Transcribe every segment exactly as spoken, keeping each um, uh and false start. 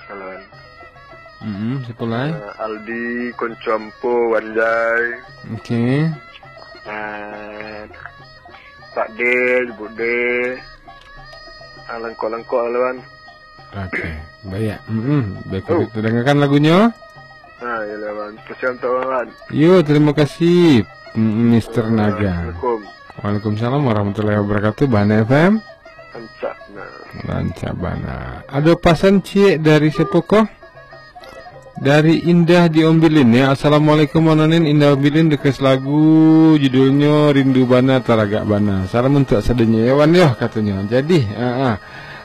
Kawan. Mm-mm, siapa lai? Eh, Aldi, konco ambo, Wanjai. Oke. Eh, Pak Del, Bude. Ah, langkok-langkok lah, Wan. Oke, baik. Mm-mm. Baik, oh, kita dengarkan lagunya. Ah, ya lah, Wan. Kasihan tak, Wan. Yo, terima kasih, mm, Mister Naga. Assalamualaikum. Waalaikumsalam warahmatullahi wabarakatuh. Bana F M. Rancak bana. Rancak bana. Ada pasan ciek dari siapa ko? Dari Indah di Ombilin, ya. Assalamualaikum, Wan Onin. Indah Ombilin request lagu, judulnya Rindu Bana, Taragak Bana. Salam untuk sadonyo, ya, Wan, ya, katanya. Jadi, ah, ah.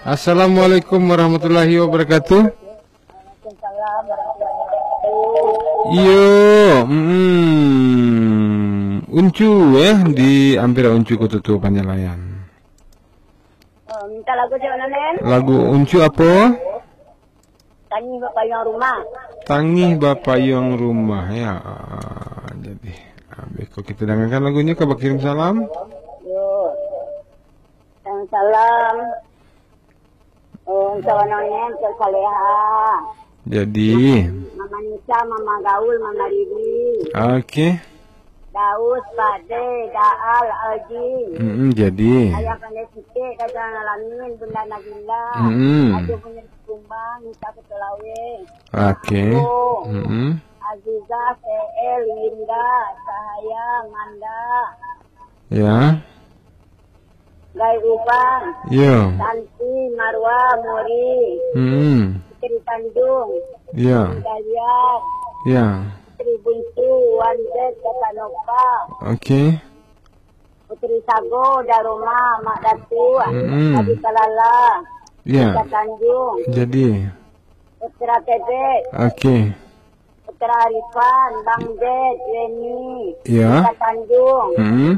Assalamualaikum warahmatullahi wabarakatuh. Waalaikumsalam warahmatullahi wabarakatuh. Iyo, mm, Uncu, eh, di Ampera Uncu, Koto Tuo, Panyalayan. Oh, minta lagu siapa, Nen? Lagu Uncu apa? Tangih Bapayuang Rumah. Tangih Bapayuang Rumah, ya. Ah, jadi, habis ko kita dengarkan lagunya, ka bakirim salam. Yo. Salam. Oh, salam, Nen, ke Saleha. Jadi. Mama Nisa, Mama Gaul, Mama Riri. Oke. Daus, Pak De, Daal, Alji. Mm-mm, jadi. Ayah Pandai Siti, Dadan Alamin, Bunda Nabila. Mm-mm. Raja Munyir Kumbang, Nisa Kutulawe. Oke. Aku. Mm-mm. Azizah, T L, Linda, Sahaya, Manda. Ya. Gai Ubang. Yo. Santi, Marwa, Muri. Mm-mm. Putri Tanjung. Ya. Dayat. Ya. Putri Buntu, Wandet, Kata Nova. Oke. Putri Sago, Daruma, Mak Datu, mm-mm, Adi Kalala, ya. Kota Tanjung. Jadi. Putra Tebet. Oke. Putra Arifan, Bang Ded, Leni, ya. Kota Tanjung. Mm-mm.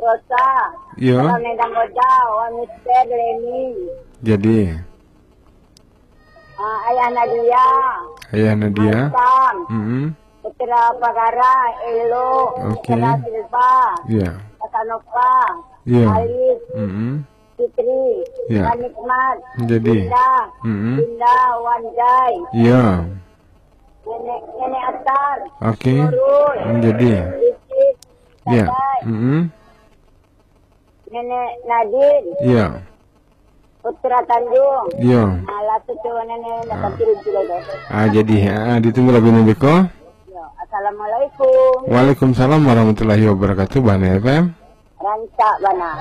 Rosa, ya. Kota Medan Goda, Wan Mister, Leni. Jadi. Ah, Ayah Nadia. Ayah Nadia. Haisam. Mm-mm. Putra Pagara, Elo. Oke. Putra Silva. Ya. Kasanova. Ya. Alif. Mm-mm. Fitri. Ya. Nikmat. Jadi. Indah. Mm-mm. Indah, Wanjai. Ya. Nenek, Nenek Atar. Oke. Nurul. Jadi. Rizky. Ya. Dadai. Mm-mm. Nenek Nadin. Ya. Putra Tanjung. Ya. Alah, tu cuma nenek nak, ah, kaki rinci dulu. Ah, jadi, ah, ditunggu lagu nan beko. Ya. Assalamualaikum. Waalaikumsalam warahmatullahi wabarakatuh, Bana F M. Rancak bana.